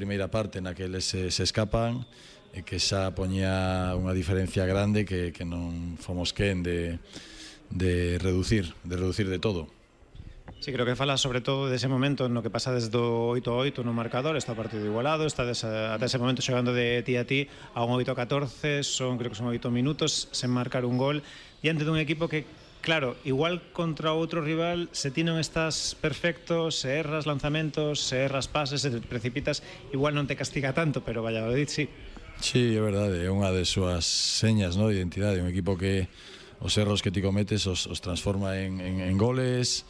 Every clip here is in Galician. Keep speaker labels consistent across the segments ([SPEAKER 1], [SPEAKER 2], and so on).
[SPEAKER 1] primeira parte na que eles se escapan e que xa poñía unha diferencia grande que non fomos quen de reducir de todo.
[SPEAKER 2] Sí, creo que fala sobre todo dese momento no que pasa desde o 8-8 no marcador, está o partido igualado, está ata ese momento xogando de ti a ti a un 8-14, creo que son 8 minutos sen marcar un gol diante dun equipo que, claro, igual contra outro rival, se ti non estás perfecto, se erras lanzamentos, se erras pases, se te precipitas, igual non te castiga tanto, pero Valladolid sí.
[SPEAKER 1] Sí, é verdade, é unha de súas señas, ¿no?, de identidade, un equipo que os erros que ti cometes os transforma en goles,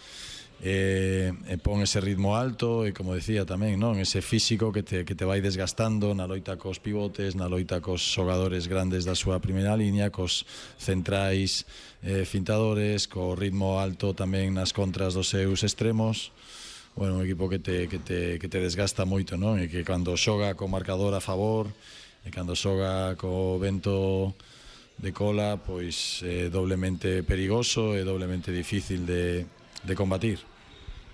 [SPEAKER 1] pon ese ritmo alto e, como decía tamén, non, ese físico que te vai desgastando na loita cos pivotes, na loita cos xogadores grandes da súa primeira liña, cos centrais fintadores, co ritmo alto tamén nas contras dos seus extremos. Bueno, un equipo que te desgasta moito, non? E que cando xoga co marcador a favor e cando xoga co vento de cola, pois é doblemente perigoso e doblemente difícil de combatir.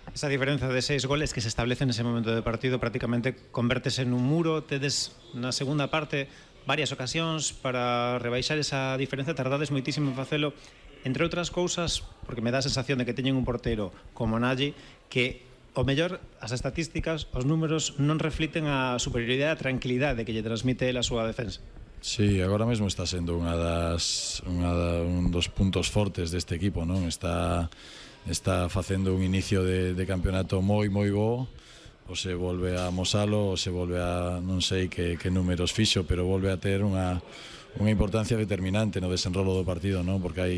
[SPEAKER 2] Esa diferenza de 6 goles que se establece nese momento de partido prácticamente convértese nun muro. Tedes na segunda parte varias ocasións para rebaixar esa diferenza, tardades moitísimo en facelo, entre outras cousas porque me dá a sensación de que teñen un porteiro como Nagy que o mellor as estatísticas, os números non refliten a superioridade e a tranquilidade que lle transmite a súa defensa.
[SPEAKER 1] Sí, agora mesmo está sendo un dos puntos fortes deste equipo, non? Está facendo un inicio de campeonato moi bo, ou se volve a amosalo, ou se volve a non sei que números fixo, pero volve a ter unha importancia determinante no desenrolo do partido, non? Porque hai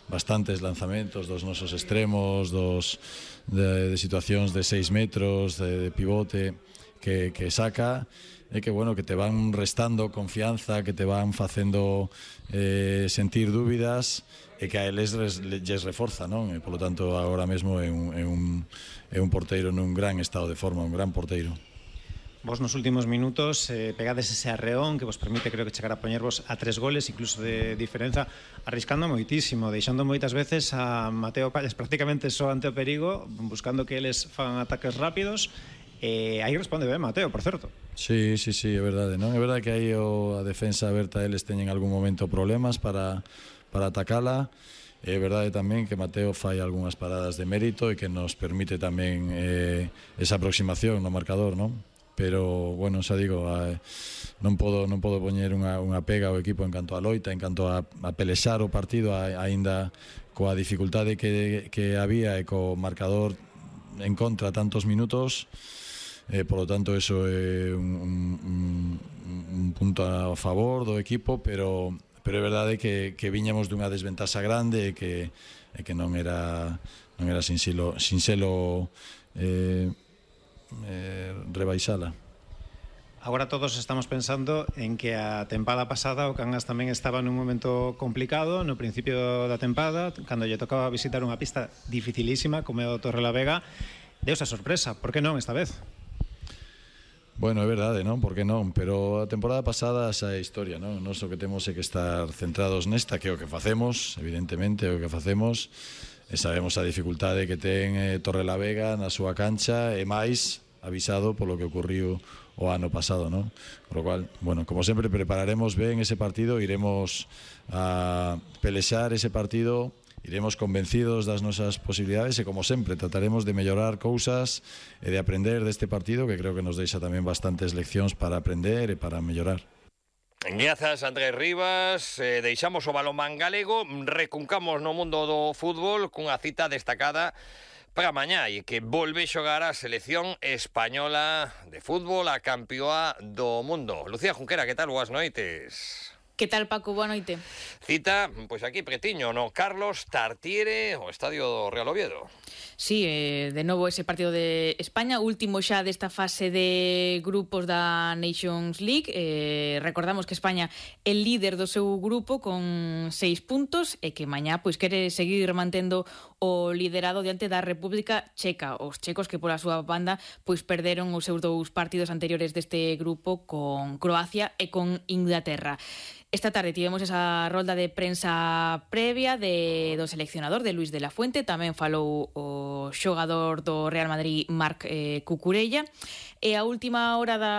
[SPEAKER 1] bastantes lanzamentos dos nosos extremos, de situacións de 6 metros, de pivote que saca, e que, bueno, que te van restando confianza, que te van facendo sentir dúbidas, e que a eles lles reforza, non? E, polo tanto, agora mesmo é un porteiro nun gran estado de forma, un gran porteiro.
[SPEAKER 2] Vos nos últimos minutos pegades ese arreón que vos permite, creo que, chegar a poñervos a 3 goles, incluso de diferenza, arriscando moitísimo, deixando moitas veces a Mateo Pallas prácticamente só ante o perigo, buscando que eles fan ataques rápidos. Aí responde ben Mateo, por certo.
[SPEAKER 1] Sí, é verdade, non? É verdade que aí a defensa aberta eles teñen algún momento problemas para atacala. É verdade tamén que Mateo fai algunhas paradas de mérito e que nos permite tamén esa aproximación no marcador, non? Pero, bueno, xa digo, non podo poñer unha pega ao equipo en canto a loita, en canto a pelexar o partido, aínda coa dificultade que había e co marcador en contra tantos minutos. Por lo tanto, eso é un punto a favor do equipo, pero é verdade que viñamos dunha desventaxa grande e que non era sinxelo rebaixala.
[SPEAKER 2] Agora todos estamos pensando en que a tempada pasada o Cangas tamén estaba nun momento complicado no principio da tempada, cando lle tocaba visitar unha pista dificilísima como é o Torrelavega. Deus a sorpresa, por que non esta vez?
[SPEAKER 1] Bueno, é verdade, non? Por que non? Pero a temporada pasada xa é historia, non? Nos o que temos é que estar centrados nesta, que é o que facemos, evidentemente, é o que facemos, e sabemos a dificultade que ten Torrelavega na súa cancha, e máis avisado polo que ocurriu o ano pasado, non? Por lo cual, bueno, como sempre, prepararemos ben ese partido, iremos a pelexar ese partido, iremos convencidos das nosas posibilidades e, como sempre, trataremos de mellorar cousas e de aprender deste partido, que creo que nos deixa tamén bastantes leccións para aprender e para mellorar.
[SPEAKER 3] Grazas, Andrés Rivas. Deixamos o balonmán galego, recuncamos no mundo do fútbol cunha cita destacada para mañá e que volve xogar a selección española de fútbol, a campeoa do mundo. Lucía Junquera, que tal? Boas noites.
[SPEAKER 4] Que tal, Paco? Boa noite.
[SPEAKER 3] Cita, pois aquí pretiño, no Carlos Tartiere, o estadio do Real Oviedo.
[SPEAKER 4] Sí, de novo ese partido de España, último xa desta fase de grupos da Nations League. Recordamos que España é líder do seu grupo con 6 puntos e que mañá pois quere seguir mantendo o liderado diante da República Checa. Os checos que pola súa banda pois perderon os seus 2 partidos anteriores deste grupo con Croacia e con Inglaterra. Esta tarde tivemos esa rolda de prensa previa do seleccionador, de Luis de la Fuente. Tamén falou o xogador do Real Madrid, Marc Cucurella. E a última hora da